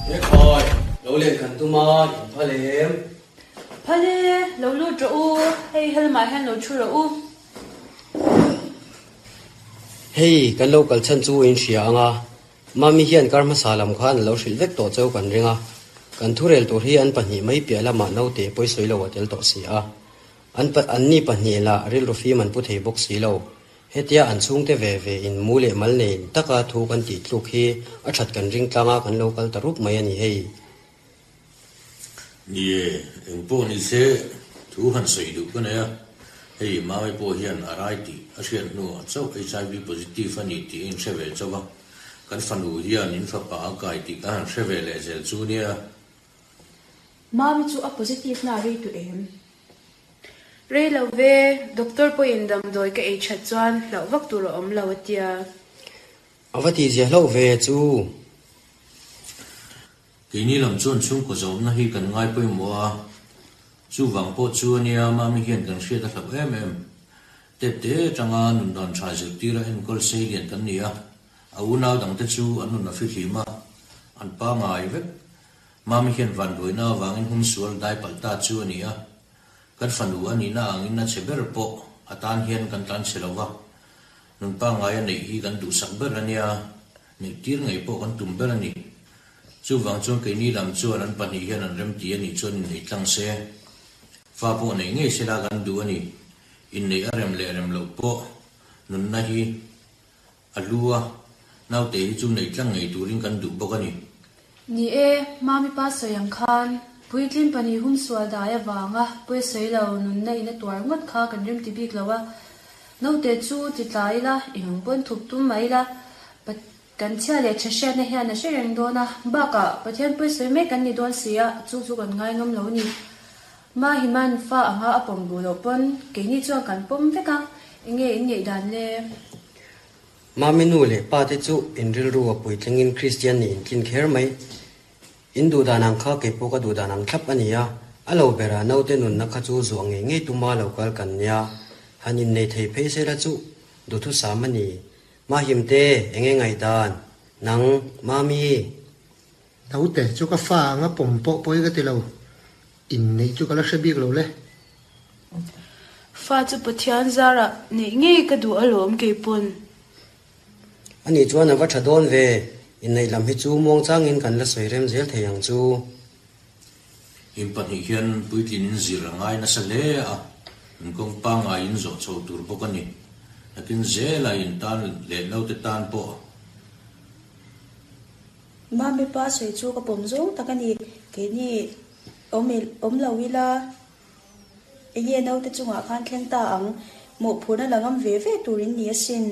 E khawi, lo len kan tum a, in phal em? Phal e, lo lut rawh u, hei helamah hian lo thu rawh u. Hei, kan lo kal chhan chu in hria ang a, Mami hian kar hmasa lam khan a lo hrilh vek tawh cheu kan ring a, kan thurel tur hi an pahnih mai piah lamah naute pawisawi lo a tel tawh si a. An anni pahnih lah rilru fim an pu thei bawk si lo. Hetia an chhungte ve ve in mu leh mal nei taka thu kan tih tluk hi a that kan ring tlang a kan lo kal ta rup mai a ni hei. Ni e, eng pawh ni se thu han sawi duh ka nei a, hei Mami pawh hian a rai tih a hriat hnuah chauh HIV positive a ni tih a inhre ve chauh a, kan fanu hian in fapa a kai tih ka han hre ve leh zel chu nia. Mami chu a positive na rei tu em? Rei lo ve, doctor pawhin damdawi ka ei that chuan hlauh vak tur a awm lo a tia. A va tihzia hlauh ve chu. Keini lam chuan chhungkaw zawmna hi kan ngai pawimawh a, chuvang pawh chu a nia Mami hian kan hriat a hlauh em em. Tepte atanga nundan tha zirtira enkawl sei lian kan ni a, a unau dangte chu an nun a fihlim a, an pangai vek. Mami hian vanduaina avangin humsual dai palh ta chu a ni a, kan fanu a nihna angin a che ber pawh a tan hian kan tlan chhe lo va, nun pangngai a neih hi kan duhsak ber a nia, neih tir ngei pawh kan tum ber a ni. Chuvang chuan keini lam chuan an pahnih hian an remti a nih chuan inneih tlang se, fa pawh neih ngei sela kan duh a ni. Inneih a rem leh rem loh pawh nunna hi A lu a, naute hi chu neih tlang ngei turin kan duh bawk a ni. Ni e, Mami pa sawi ang khan, puitlin pahnih hum sual dai avanga pawi sawi lo nunna in a tuar ngawt kha kan remti bik lo a. Naute chu ti tla ila, eng ang pawn thup tum mai ila, kan chhia leh tha hriatna hian a hre reng dawn a, bakah Pathian pawi sawi mek kan ni dawn si a, chu chu kan ngai ngam lo a ni. Mahiman fa anga a pawm duh loh pawn keini chuan kan pawm vek a, enge in ngeih dan le? Mami nu leh pa te chu in rilru a puitlingin Kristian nih in tlin kher mai. In duh dan ang kha kei pawh ka duh dan ang thlap a ni a, a lo berah naute nunna kha chu zuah ngei ngei tuma lo kal kan nia, han innei thei phei se la chu duhthusam a ni. Mahimte, enge ngaihdan? Nang, Mami? Naute chu ka fa anga pawm pawh pawi ka ti lo, inneih chu ka la hre bik lo le. Fa chu Pathian zarah neih ngei ka duh alawm keipawn. Ani chuan a va tha dawn ve, inneih lam hi chu muangchangin kan la sawi rem zel thei ang chu. In pahnih hian puitlin in zir a ngai nasa hle a, an kawng pangngai in zawh chho tur bawk a ni. Nakin zela in tan leh naute tan pawh. Mami pa sawi chu ka pawm zawng tak a ni. Keini awm awm lo ila enge naute chungah khan thleng ta ang. Mawhphurhna la ngam ve ve tur in ni asin.